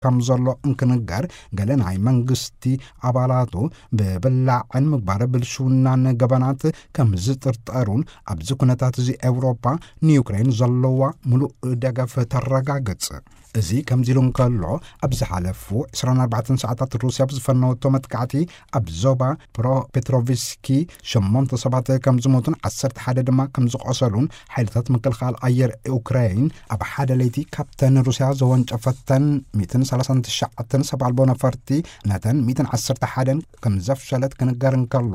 ከም ዘሎ እንክንገር፣ ገለ ናይ መንግስቲ ኣባላቱ ብብላዕን ምግባር ብልሽውናን ገበናት ከም ዝጥርጠሩን፣ ኣብዚ ኩነታት እዚ ኤውሮጳ ንዩክሬን ዘለዋ ምሉእ ደገፍ ተረጋግጽ። እዚ ከምዚ ኢሉ እንከሎ፣ ኣብ ዝሓለፉ ዕስራን ኣርባዕተን ሰዓታት ሩስያ ብዝፈነወቶ መጥቃዕቲ ኣብ ዞባ ፕሮፔትሮቭስኪ ሸሞንተ ሰባት ከም ዝሞቱን ዓሰርተ ሓደ ድማ ከም ዝቆሰሉን ሓይልታት ምክልኻል ኣየር ዩክሬን ኣብ ሓደ ለይቲ ካብተን ሩስያ ዘወንጨፈተን ሚእትን ሰላሳን ትሽዓተን ሰብ ኣልቦ ነፈርቲ ነተን ሚእትን ዓሰርተ ሓደን ከም ዘፍሸለት ክንገር እንከሎ፣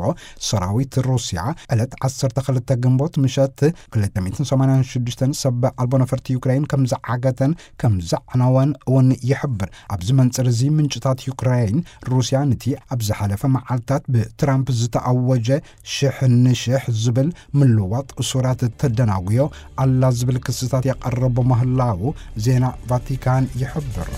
ሰራዊት ሩስያ ዕለት ዓሰርተ ክልተ ግንቦት ምሸት ክልተ ሚእትን ሰማንያን ሽዱሽተን ሰብ ኣልቦ ነፈርቲ ዩክሬን ከም ዝዓገተን ከም ዘዕነወን እውን ይሕብር። ኣብዚ መንጽር እዚ ምንጭታት ዩክሬን፣ ሩስያ ነቲ ኣብ ዝሓለፈ መዓልታት ብትራምፕ ዝተኣወጀ ሽሕ ንሽሕ ዝብል ምልዋጥ እሱራት ተደናጉዮ ኣላ ዝብል ክስታት የቐረቦ ምህላዉ ዜና ቫቲካን ይሕብር።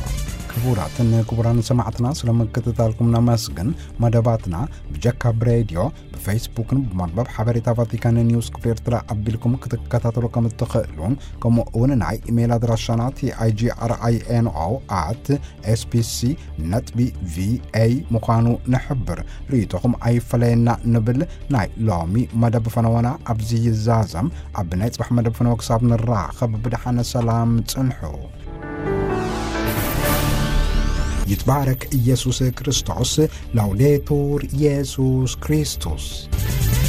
ክቡራትን ክቡራን ሰማዕትና፣ ስለ ምክትታልኩም ነመስግን። መደባትና ብጀካ ብሬድዮ፣ ብፌስቡክን ብመርበብ ሓበሬታ ቫቲካን ኒውስ ክፍሊ ኤርትራ ኣቢልኩም ክትከታተሉ ከም እትኽእሉን፣ ከምኡ እውን ናይ ኢሜይል ኣድራሻና ቲ ኣይ ጂ ኣር ኣይ ኤን ኦ ኣት ኤስ ቢ ሲ ነጥቢ ቪ ኤ ምዃኑ ንሕብር። ርእይቶኹም ኣይፈለየና ንብል። ናይ ሎሚ መደብ ፈነወና ኣብዚ ይዛዘም። ኣብ ናይ ጽባሕ መደብ ፈነወ ክሳብ ንራኸብ ብደሓነ ሰላም ጽንሑ። ይትባረክ ኢየሱስ ክርስቶስ። ላውዴቱር ኢየሱስ ክርስቶስ።